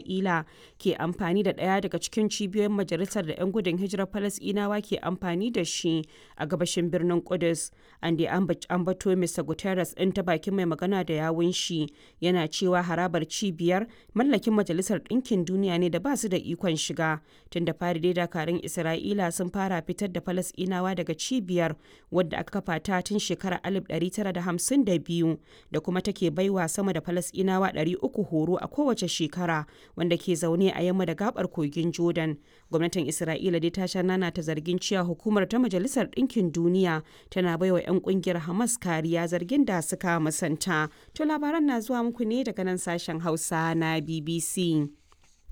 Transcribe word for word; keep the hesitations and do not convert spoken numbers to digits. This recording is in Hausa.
Isra'ila ke amfani da ɗaya daga cikin cibiyoyin majalisar da 'yan gudun hijirar Falasɗinawa ke amfani da shi a gabashin birnin Kudus. An dai ambato Mister Guterres ɗin ta bakin mai magana da yawun shi yana cewa harabar cibiyar mallakin Majalisar Ɗinkin Duniya ne da ba su da ikon shiga. Tun da fari dai dakarun Isra'ila sun fara fitar da Falasɗinawa daga cibiyar wadda aka kafa ta tun shekarar alif ɗari tara da hamsin da biyu da kuma take baiwa sama da Falasɗinawa ɗari uku horo a kowace shekara wanda ke zaune a yamma da gabar kogin Jordan. Gwamnatin Isra'ila dai ta sha nana ta zargin cewa hukumar ta Majalisar Ɗinkin Duniya tana baiwa 'yan kungiyar Hamas kariya, zargin da suka musanta. To labaran na zuwa muku ne daga nan sashen Hausa na B B C.